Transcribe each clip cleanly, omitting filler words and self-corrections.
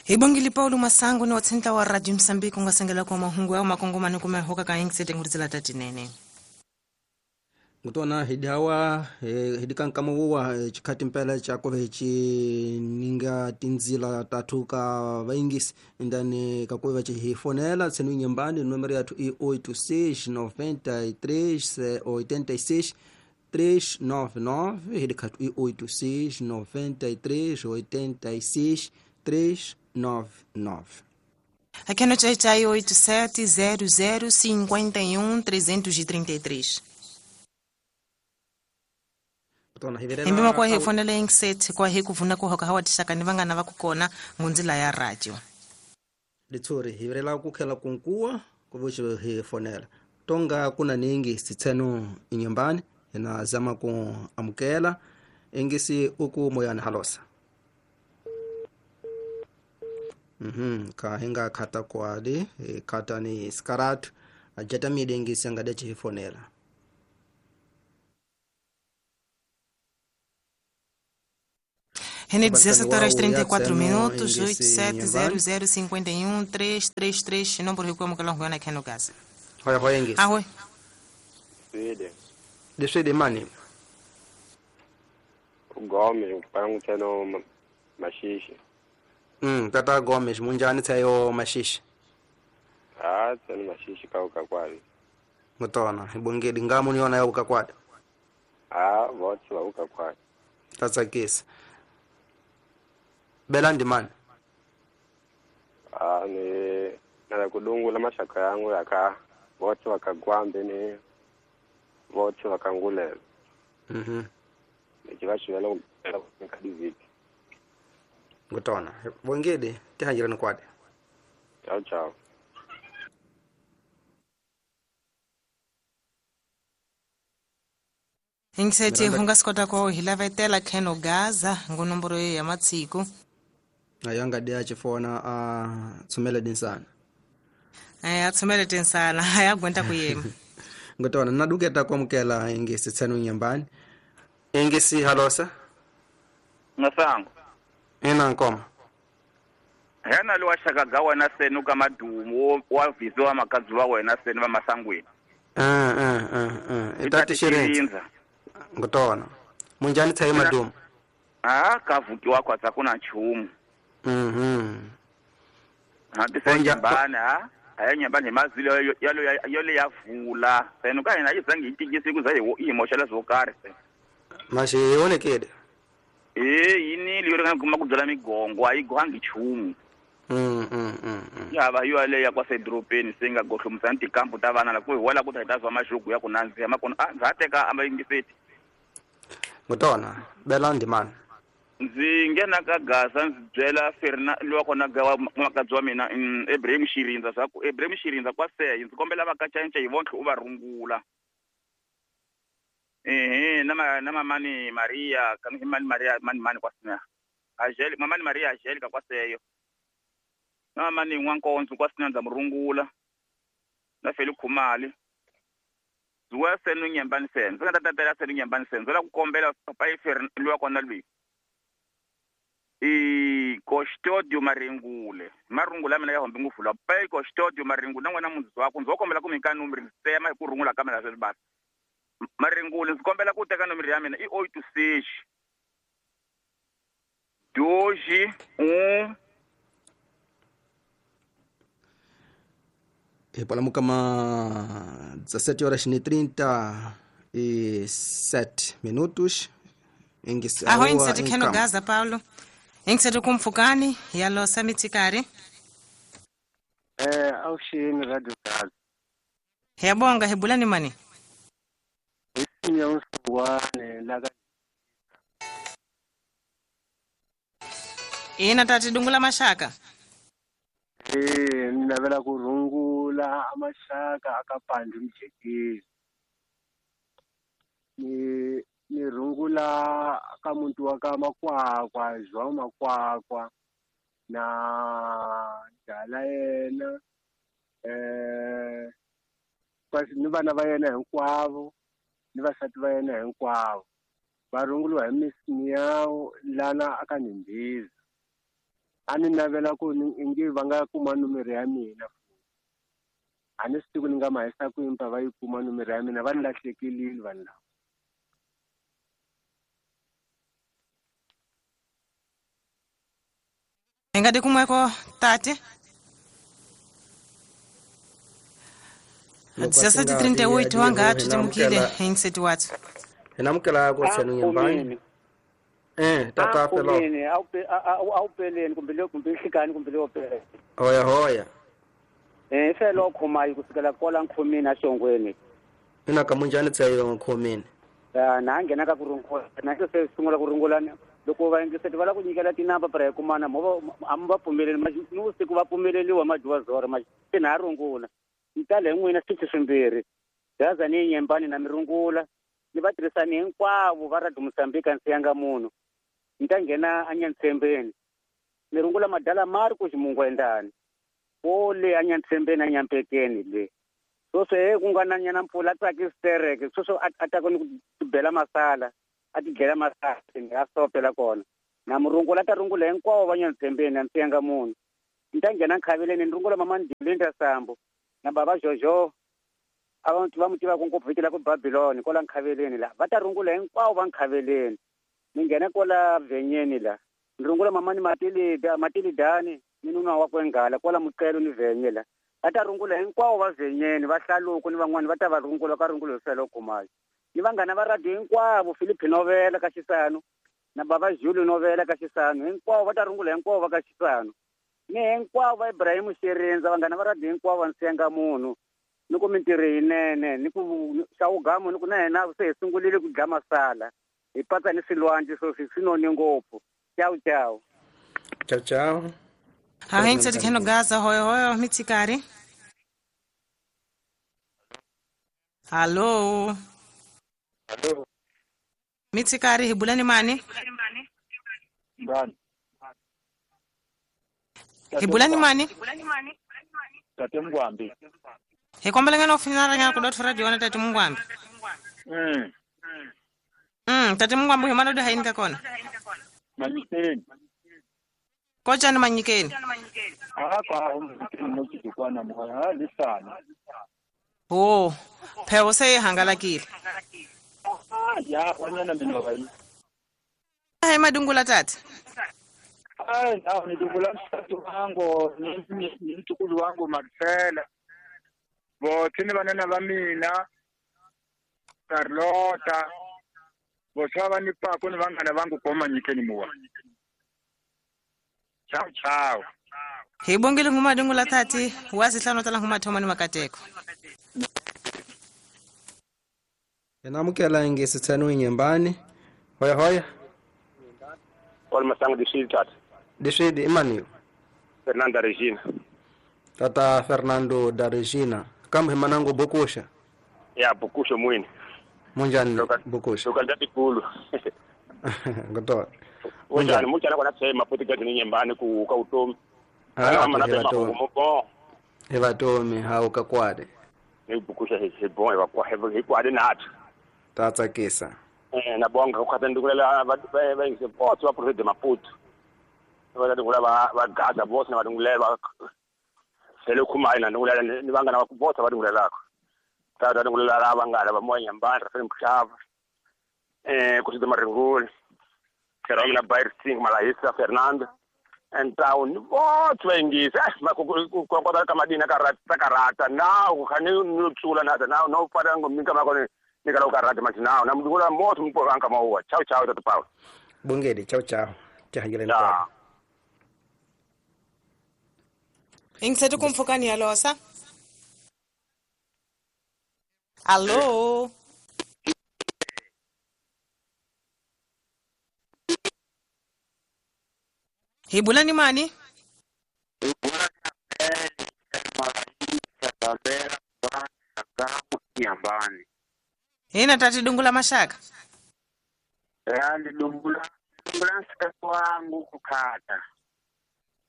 Hi bongile Paulo Masangu ni wa tshinta wa Radio Msambiki ku nga sengela kwa mahungu ya makongomani kume hoka ka ingisete nguritsela tatinene. Ngutona hidawa hidikankama wuwa chikhati mpela chakove chininga tinzila tatu ka vaingisi ndani kakuve vachihifonela tsenu nyumbani numero yathu i 86 93 86 399 hidikhatu i 86 93 86 399. Aqui no Tchai Tchai 87 00 51 333. Himbima kwa hifonela ingisethi kwa hikuvuna kuhoka hawa tixaka ni vangana va ku kona ngundzila ya radio. Litsuri hivirela kukhela kunkuwa kuvuxi hifonela tonga kuna ningi sitseno inyumbani hina zama ku amukela ingisi uku moyani halosa. Ka hinga khata kwali khata ni skaratu ajata mide ingisi angadechi hifonela. Rene 17 horas 34 minutos, 8700 51 333, número recuamo que longo aqui no caso. Oi, oi, Ingis. Ahoi. Swede. De Swede mani. Gomes, panguteno mashishi. Tata Gomes, munjani tsayo mashishi. Ah, tseno mashishi kauka kwali. Mutona, ibongeli ngamu niona yauka kwali. Ah, votsi vauka kwali. Tatsakisa. Belandi mani. Ah, ni na kudungula mashaka yangu yaka votsi vakagwambe ni votsi vakangulela. Nichivashivela nkadiviki. Ngutona. Bongede tihanjirani kwade. Ciao ciao. Ingisethi hungasikota ko hilavetela Keno Gaza ngunomboro ya matsiku. Ayanga dia chifona a tsumele dinsana. A tsumele dinsana ayagwenta kuyema. Ngutona naduketa kwamukela ingisi tsenu nyambani. Ingisi halosa. Ngasango. Ina nkoma. Hena lo washaka ga wena senu ka madumo wa viziwa makazi wa wena senu va masangwini. Itati shirinza. Ngutona. Munjani tsayi madumo. Ah, kavukiwa kwa tsakuna nchumu. Hati bana ayanyamba nemazilo yalo yalo yavula senu ka yena yizange itikisi kuza yimoshela zokari se. Mashe yonekede. Yini liyo kana kuma kudzala migongo ayigohangi chumu. Ya va yo leya kwasedorobeni singa gohlomusa tikampu ta vana la ku hi wala ku ta ta zwa mazhugu ya ku nandziha makona a ndza ha teka amayingiseti. Ngutona belandi mani. Ndzi nghena ka Gaza ndzi byela Ferna lowa kona ga wa makadzi wa mina Ibrahim Shirinza swa ku Ibrahim Shirinza kwa seyi ndzi kombela va kacanca hi vontlhe u va rungula. Na mamani Maria kani mani Maria mani mani kwa sina. Ajeli mamani Maria Ajeli ka kwa seyo. Na mamani Nwankonzo kwa sina ndza murungula. Na Feli Khumali. Zuwa senu nyembani senu. Ndzi nga ta tatela senu nyembani senu. Ndzi la ku kombela papa Ferna lowa kona lwi. I Kostodio Maringule. Marungula mina ya hombe ngufu la pa Kostodio Maringule na n'wana mundzi wakho ndzi kombela ku mika number ndzi tsema hi ku rungula ka mina sweswi basi. Maringule ndzi kombela ku teka nomero ya mina i 86 2 1 hi palamu kama 17 horas e 37 minutos. Ingisi aho ingiseti Keno Gaza Paulo. Ingiseti kumfukani yalosa mitsikari. Awushini Radio Gaza. Yabonga hebulani mani. Isinya usuwane laka. Ina tati dungula mashaka. Ninavela kurungula amashaka akapandi mjekezi. Ni rungula ka muntu wa ka makwakwa zwa makwakwa na dala yena kasi ni vana va yena hinkwavo ni vasati va yena hinkwavo va runguliwa hi Miss Miao lana aka Nimbiza. A ni navela ku ingi va nga kuma nomoro ya mina. A ni swi tivi ku ni nga mahisa ku impa va yi kuma nomoro ya mina, va ni lahlekelile vanhu lava. Hi nga tikumeko tate? Loko a swi nga 17:38 ri wa nga hi tutimukile namukela hi nseti wathu. Hi namukela ku tshenu nyembani. Tata felo. Awupeleni kumbe le kumbe nhlikani kumbe le opela. Hoya hoya. Felo khomayi kusukela kwala nkhomini axongweni. Ina ka munjani tsayo nkhomini. Na nghena ka ku rungula na se sungula ku rungula loko va yingiseti va lava ku nyikela tinamba para hi kumana mo a mi va pfumeleli ni vusiku va pfumeleliwa madyiwa zoro ma se na rungula. Ni tale hi n'wina switichi swimbirhi. Gaza ni nyembani na mi rungula. Ni va tirhisani hinkwavo va Radio Mozambique a siyanga munhu. Ni ta nghena anyantsembeni. Ni rungula madala Marcos Mungwendani. O le anyantsembeni anyampekeni le. Sweswo he ku nga na nyana mpfula a tsakisi tereke sweswo a ta ku ni ku bela masala a ti dlela masala a sopela kona. Na murungula ta rungula hinkwavo va nyantsembeni a siyanga munhu. Ni ta nghena nkhaveleni ni rungula mama Ndilinda Sambo na baba Jojo abantu va mutiva ku ngopfu vito la ku Babylon kwala nkhaveleni la va ta rungula hinkwavo va nkhaveleni. Ni nghena kwala vhenyeni la ni rungula mamani Matilida Matilidani ni nuna wa kwengala kwala Muqelo ni vhenye la va ta rungula hinkwavo va vhenyeni va hlaluko ni van'wani va ta va rungula ka rungula hi felo kumayo. Ni vanghana va radio hinkwavo Philip Novela ka Xisano na baba Jules Novela ka Xisano hinkwavo va ta rungula hinkwavo va ka Xisano. Ni hinkwavo va Ibrahim Xerindza vanghana va radio hinkwavo va nsenga munhu. Ni ku mintirho yinene ni ku xawugamo ni ku na hina se hi sungulile ku dya masala hi patsa ni swilwandle sweswi swi noni ngopfu. Ciao ciao. Ciao ciao. Ha hi nseti kheno Gaza hoyo hoyo mitsikari. Hallo. Hallo. Mitsikari hi bulani mani? Ngani? Hi bulani mani? Tate Mngwambi. Hi kombela ngana ufinara ngana ku dot radio na Tate Mngwambi. Tate Mngwambi hi mana do haini ka kona. Manyikeni. Kocha ni manyikeni. Hapa umukiti kwana mwa lisana. Oh, phewo se hangalakile. Ya wanyana mina vai. Hai madungula tata. Ai, na nidungula msatu wangu, ni mtukulu wangu Marcela. Vote ni vanana va mina Carlota. Vote va ni pako ni vanghana vangu koma nyikeni muwa. Ciao ciao. Hi bongile nguma dungula tati, wazihlano tala nguma thoma ni makateko. Namukela ingesi tseno nyembani. Hoya hoya. Wal masango di tata. Dishidi imani. Fernando Regina. Tata Fernando da Regina. Kambe manango bokusha. Ya bokusha mwini. Munjani bokusha. Loka ndati kulu. Ngoto. Munjani munjani kwa nasema maputi ni nyembani ku ka utomi. Ah, Evatomi hau ka kwade. Ni bokusha he bon eva kwa he kwade nathi. Tatsakisa. Na bonga ku khatandukulela va va ingise potso va president Maputo. Va ndungula va Gaza boss na va ndungulela sele khumai na ndungulela ni vangana va botsa va ndungulelako. Tata ndungulela la vangana va moya nyambani ra Mhlava. Ku sida Maringuli. Keromina Bayer Singh Malahisa Fernando and town botsa va ingisa ma ku ku ka madina ka rata ka rata now khani no tsula na now no fana ngomika ma kone ni ka ka rata manje now na mndungula moto mpo anka maua. Ciao ciao tata Paulo. Bongedi ciao ciao. Tihangile kwa. Ingiseti kumfukani ya losa. Allo. Hi bulani mani? Hina tati dungula mashaka. Ya dungula nsika wangu kukata.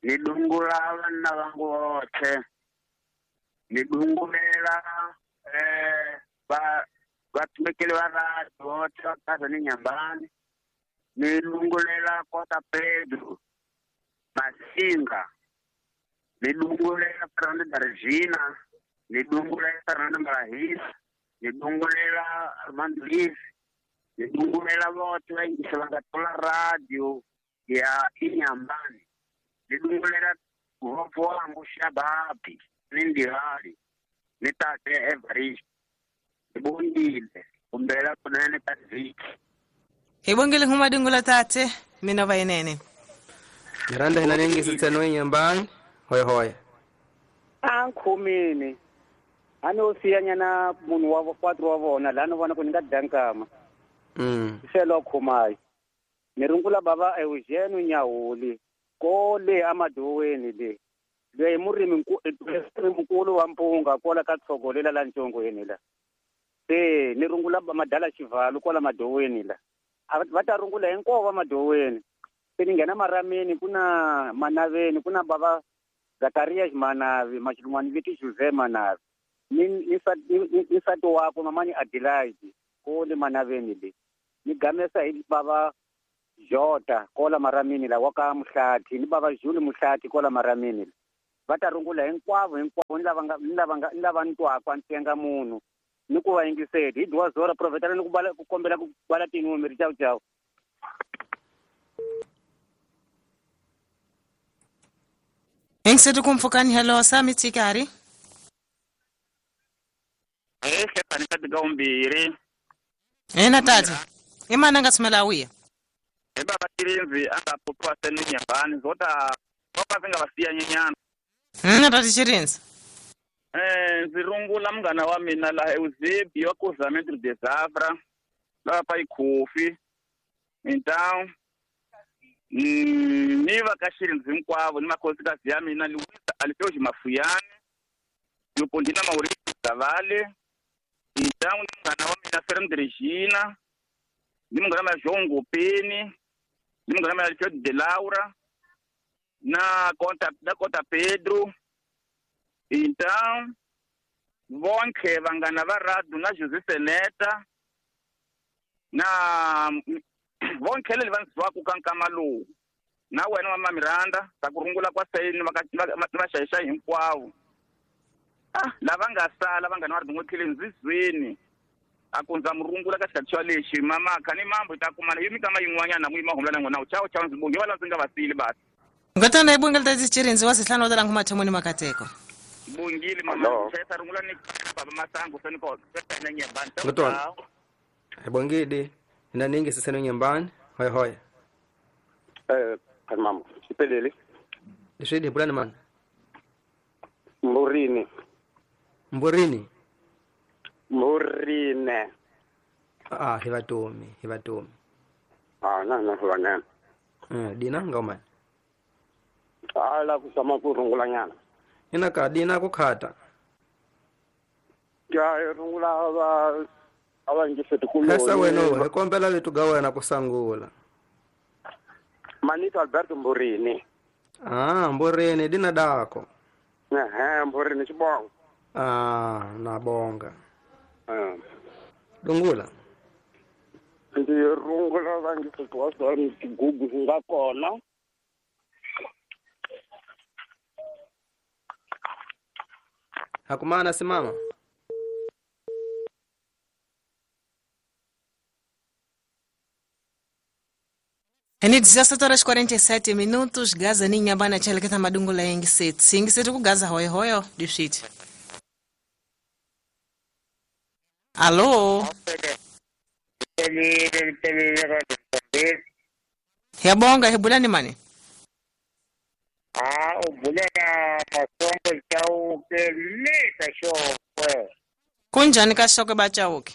Nidungula vana vangu vote. Nidungulela vatumikeli va radio vote vakaza ni nyambani. Nidungulela kota Pedro Masi Masinga ni dungulela Fernando Darjina ni dungulela Fernando Marahis ni dungulela Armando Liz ni dungulela vothe va yingisa va nga tola radio ya Inhambane ni dungulela vopfo wangu Shababi ni Ndihali ni tate Everest ni bongile kumbela kunene ka vhiki hi bongile huma dungula tate mina va yenene Miranda hina ningi sitseno Inhambane hoy hoy a nkhomini a no siyanyana munhu wa quatro wa vona la no vona ku ni nga dankama se lo khomayo ni rungula bava Eugene Nyahuli kole amadoweni le loyi murimi mukulu wa mpunga kola ka tshogolela la ntshongweni la se ni rungula madala xivalo kola madoweni la va ta rungula hinkwavo va madoweni se ni nghena marameni kuna manaveni kuna bava Zakaria Manavi machilungwani viti Jose Manavi ni nsati wakwe mamani Adelaide kole manaveni le ni gamesa hi bava Jota kola maramini la waka Muhlati ni bava Juli Muhlati kola maramini la va ta rungula hinkwavo hinkwavo ni lava nga ni lava ntwaka ntsenga munhu ni ku va yingiseli hi dwa zora profetana ni ku bala ku kombela ku bala tinumeri chau chau Engiseti kumpfukani hello sami tsikari Stefani ka umbiri ena tata imana nga tsumela wiya e baba Tirinzi anga popwa senu Inhambane zota opa singa vasiya nyenyana na tata Chirinzi ndzi rungula munghana wa mina laha Eusebio wa Cruzamento de Zafra lava pa ikhofi então ni va ka Xirinzi hinkwavo ni makhosikazi ya mina Luisa Alfeus Mafuyane Leopoldina Maurício Zavale então ni munghana wa mina Fernando Regina ni munghana wa mina João Ngopeni ni munghana wa mina Alfredo de Laura na conta Pedro então vonke vanghana va radio na José Seneta na vonke leli va ndziwaku ka nkama lowu na wena mama Miranda ta ku rungula kwa sayini va xayixa hinkwavo lava nga sala vanghana va ri ndzizweni a ku ndza murungula ka xikhathi xa lexi mamakha ni mambo hi ta kumana yi mikama yin'wanyana mu yima humula na n'wina chao chao ndzi bonge va la ndzi nga va siyile basi ngatana hi bongile tata Chirinzi wa sihlanu wa talangu mathomoni makateko bongile mama chayisa rungula ni baba Masango seni ko na Inhambane Ngotwana hi bongile hina ningi siseno Inhambane hoy hoy mama xipelele leswi hi bulani mani Mburine Mburine hi vatomi na na dina nga mani ala ku sama ku rungula nyana ina ka dina ku khata ya rungula va ava ngiseti ku lesa wena hi kombela vito ga wena ku sangula Manito Alberto Mburini Mburini dina dako Mburini xibongo na bonga dungula ndzi rungula va ngiseti wa swona tigugu swi nga kona hakumana simama Eni 17:47 minutos Gaza ni Inhambane cheleketa madungula yengiseti ingiseti ku Gaza hoyo hoyo difiti Alô Yabonga hebulani mani Ubulela Masongo Chauke le Kashokwe Kunjani Kashokwe bachauke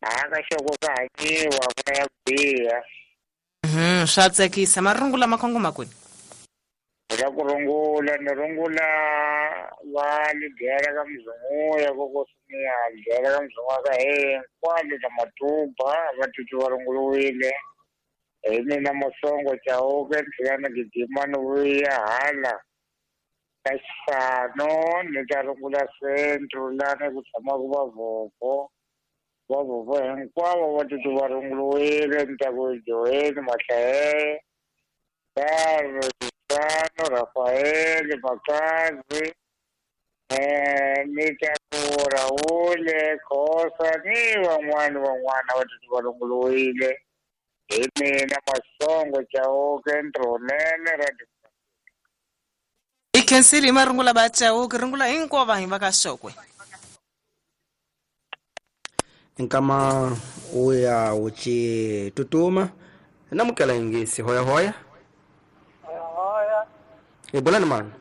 Kashokwe kahanyiwa kuna ya kubiya Swa tsakisa marungula makhongo makuni La kurungula ni rungula va ligera ka mzunguya kokosumiya ligera ka mzunguya ka hinkwalo na matuba va titwi va runguriwile hi mina Masongo Chauke ni tlhela ni gidima ni vuya hala ka xifano ni ta rungula centro lani ku tshamaka vavhovho vavhovho hinkwavo va titwi va runguriwile ni ta ku joweni mahlahele Adriano, Rafael, Makazi, ni ta ku Raul, Khosa ni van'wana van'wana va titwi va runguriwile hi mina Masongo Chauke Ntirhonene Radio. I khensile hi marungula va Chauke, rungula hinkwavo vanhu va ka Xokwe. Nkama uya uchi tutuma namukela ingisi hoya hoya. Hoya. Ibulani mani?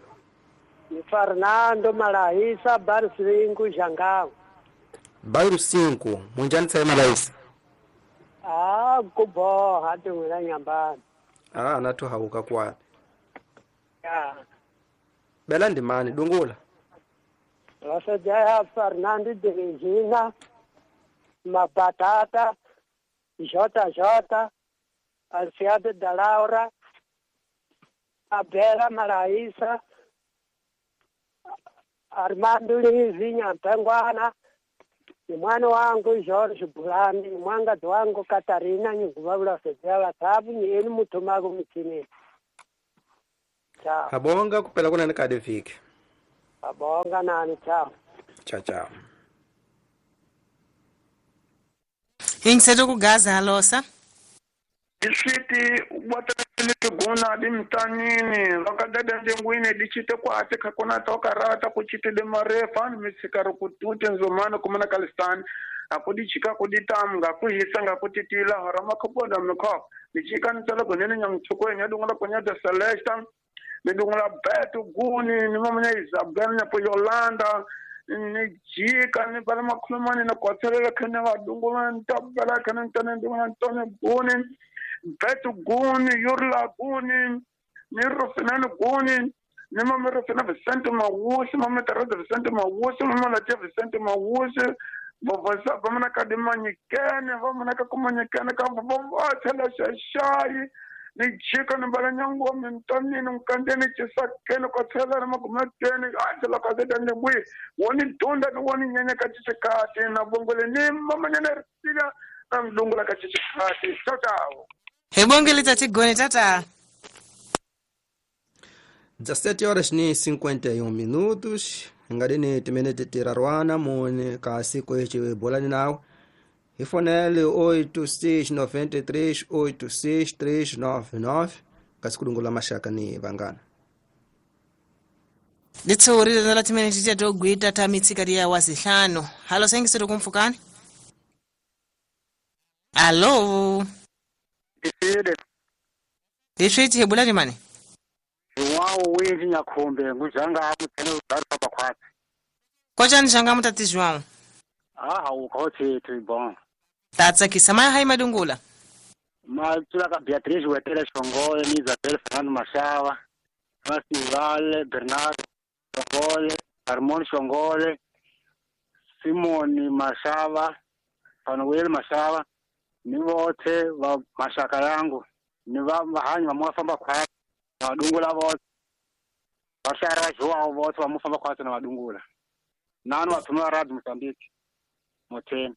Ni Fernando Malahisa Barsingu Jangamu. Bairro 5, munjani tsaye Malahisa? Ah, kuboha hati wena nyambani. Ah, nathu hauka kwapi. Ya. Bela ndimani dungula. Rasejaya Fernando de Regina, Mapatata, Jota Jota, Alciado da Laura, Abela Malaísa, Armando Lizinha Mpengwana, ni mwana wangu George Bulani, ni mwangazi wangu Katarina nyinguvavula sejala tabu ni eni mutumago mchini. Ciao. Habonga kupela kuna nikade fike. Habonga nani, ciao. Ciao ciao. Ingiseto kugaza halosa. Isiti watalete guna di mtanini vakadada ndengwini dichite kwate kakona tokarata kuchite de marefa misikaro kutute nzomana kumana kalistani akudichika kuditamga kuhisanga kutitila harama kuponda mkho dichika ntsala kunene nyamchukwe nyadungula kunyata Celesta nidungula betu guni ni mamanya Isabel nyapo Yolanda ni jika ni bala makhulumani na kwatselela khene vadungula ntabela khene ntane ndungula ntone guni betu guni yurla guni ni rufinani guni ni mama rufina Vicente Mawusi mama Teresa Vicente Mawusi mama Latia Vicente Mawusi vavasa vamana ka dimanyikene vamana ka kumanyikene ka vavathela xaxayi ni jika ni bala nyango mintanini nkandeni chisakeni kwatselela magumeteni athela kazetani bwi woni dunda ni woni nyenya ka chichikati na bongole ni mamanyana risila na mdungula ka chichikati. Ciao ciao. Hebongele tatigone tata. 17 horas ni 51 minutos. Ngadini timinete tirarwana mune kasi kwechi bolani nawo. Ifonele 8693 86399 kasi kudungula mashaka ni vangana. Litsuwurire la timinete tiyatogwita ta mitsikati ya wazihlanu. Halo sengisero kumfukani? Alo. Isile. Liswiti hebulani mani? João winji nyakhumbe ngujanga mutsene udari papa khwatsi. Kochani janga mutati João? Ah, ukhothi bon. Tatsakisa maya hai madungula. Matsula ka Beatriz Wetele Shongole ni Isabel Fernando Mashava, Masivale Bernardo Shongole, Harmon Shongole, Simoni Mashava, Fanuel Mashava, ni vothe va mashaka yangu ni va vahanyi va mafamba khwatsi. Na vadungula vothe vaxara João vothe va mufamba khwatsi na vadungula nani vathumi va Radio Mozambique motheni.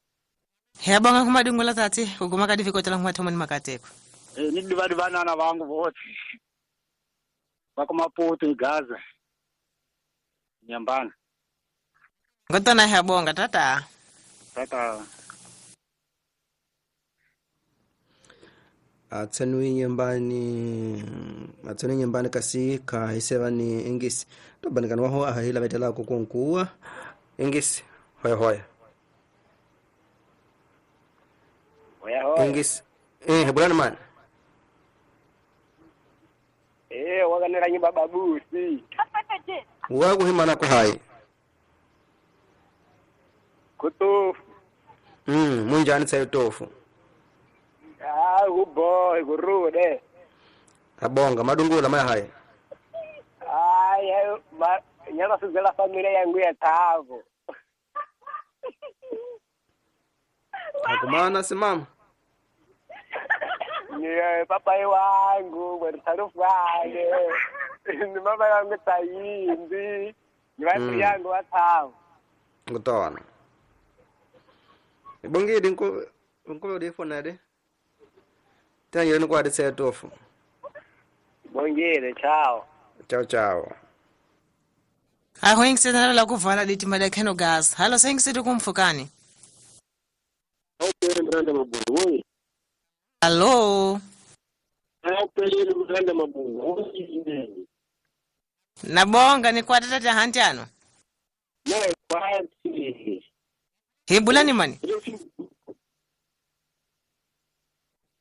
Hiyabonga kumadungula tati kuguma ka difikotela kumathomoni makateko. Ni divadi vanana vangu vothe va ku Maputo ni Gaza Nyambana. Ngotona hiyabonga tata. Tata. Atsenui nyumbani kasi ka hiseva ni ingisi tobanikana waho ahila vetela kukunkuwa ingisi hoya hoya. Hoya hoya. Ingisi hebulani man. Wakanela nyumba babusi. Wakuhimana kuhai. Kutofu. Munjani tsayo tofu. Ah, kuboy kurude. Abonga madungula maya hai. Ai, ma nyala suzela familia yangu ya tavo. Akumana simama. Ni papa wangu, bwana wangu. Ni mama yangu tayindi. Ni watu yangu wa tavo. Ngutona. Bongidi nko nko de de. Tanyele ni kwa de tofu. Bongile, ciao. Ciao ciao. Aho yingiseti navela kuvala ditima da kheno Gaza. Halo sayingiseti kumfukani. Awupele Miranda Mabungu oyi. Halo. Awupele Miranda Mabungu oyi. Nabonga ni kwa tata hantiano. Naye kwati. Hebulani mani.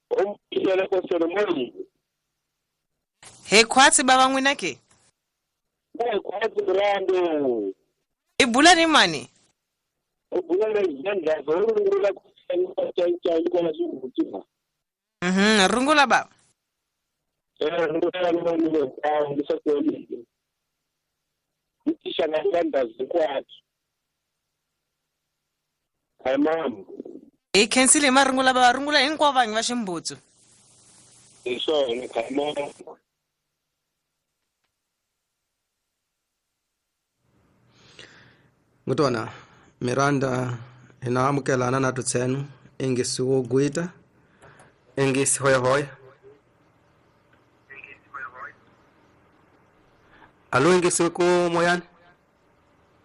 Omkisela kwa mani. He kwatsi baba ngwinake. Naye kwati Miranda. Ibulani mani. Ubulana izandla zorungula kutsani kwa. Rungula baba. Rungula mani kwa ngisakweni. Itisha nganda zikwati. Hayi mama. E cancel marungula baba rungula hinkwa vanhu va ximbutsu. Hi swona hayi mama. Ngutona Miranda hina amukelana na tutsenu ingisi wo gwita ingisi hoya hoya. Alo ingisi ku moyani.